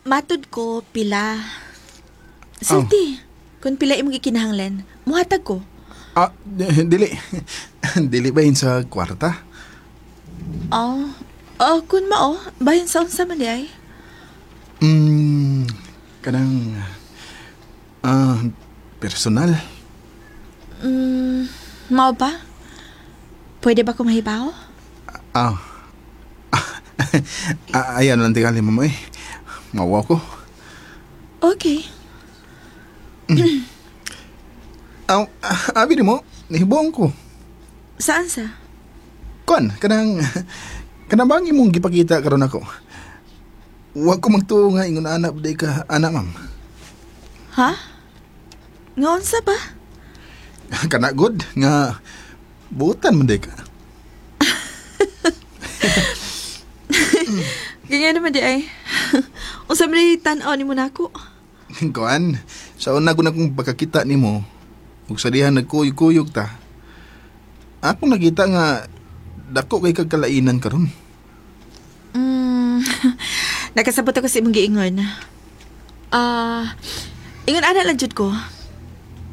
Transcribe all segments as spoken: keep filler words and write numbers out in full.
Matud ko pila. Sulti. Kung pila imong gikinahanglan, muhatag ko. Ah, dili. Dili ba yun sa kwarta? Oh, oh kun mao, bahin sa unsa man diay. Mm, kanang ah, personal. Mm, mao ba? Pwede ba ko mahibaw? Ah. ah, ayan lang tingali mo eh. Mawa ko. Okay. Aw, ah, abi mo, nahibuong ko. Saan sa? Kuan, kanang kanang bang imong gipakita karon ako. Wa ko magtuo nga ingon anak day ka ana ma'am. Ha? Nga unsa ba? Kana good nga buutan man day ka. Ganyan naman di ay. Unsa man di tan-aw nimo nako? Kuan, sa una ko na kong pagkakita nimo, ug sa diha nagkuyog-kuyog ta. Akong nakita nga dako kay kag kalainan karon. Mm, nakasabot ako sa imong giingon. Ah, ingon ana lang jud ko.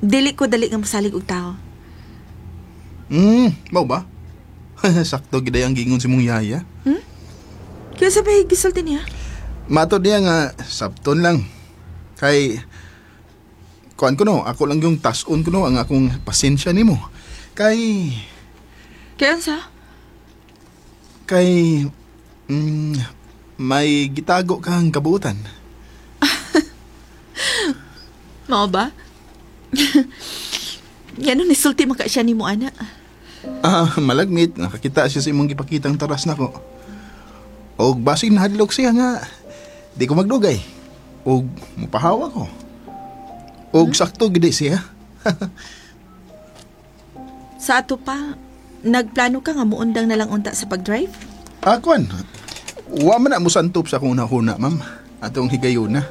Dili ko dali nga mosalig og tao. Hmm, mao ba? Sakto gid ang giingon si mong yaya. Kaya sa may gisulti niya? Matod niya nga sabton lang. Kay kuan ko no, ako lang yung tason ko no ang akong pasensya nimo. Kay Kaya unsa? kay mm, may gitago kang kabuutan. Mao ba? Ngano nisulti man ka siya nimo ana? Ah, malagmit nakakita siya sa imong gipakitang taras nako. Og basig nahadlok siya nga di ko magdugay. Og mupahawa ko. Og sakto gid siya. Sa ato pa, nagplano ka nga muundang na lang unta sa pag-drive? Ah, kuan. Wa man na musantop sa akong huna ma'am. Atong higayuna.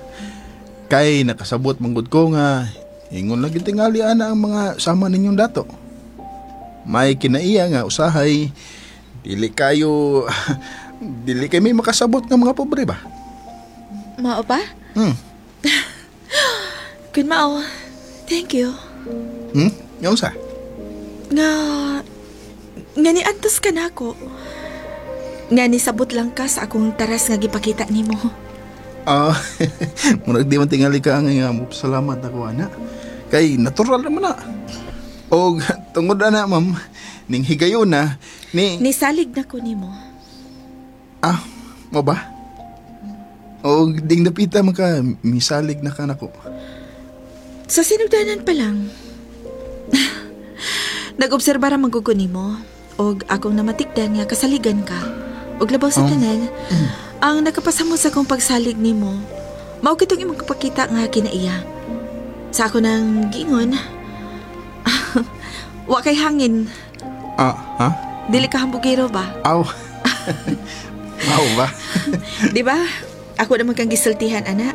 Kay nakasabot manggod ko nga ingon lagi tingali ana ang mga sama ninyong dato. May kinaiya nga usahay dili kayo dili kay may makasabot nga mga pobre ba? Mao ba? Hmm. Kun mao, thank you. Hmm? Nga unsa? Nga, nga niantos ka nako. Nga nisabot lang ka sa akong taras nga gipakita nimo. Ah, murag di man tingali ka nga nga mo salamat ako ana. Kay natural naman na. Og tungod ana ma'am, ning higayon na ni Nisalig na ko nimo. Ah, mo ba? Og ding dapita man ka misalig na ka nako. Sa sinugdanan pa lang. Nag-obserba ra man gud ko nimo og akong namatikdan nga kasaligan ka. Og labaw sa Oh. tanan, ang nakapasamot sa akong pagsalig nimo, mao kitong imong kapakita nga kinaiya. Sa ako nang giingon, wa kay hangin, Ah, ha? dili ka hambugero ba? Aw. Mao ba? Di ba? Ako naman kang gisultihan, ana.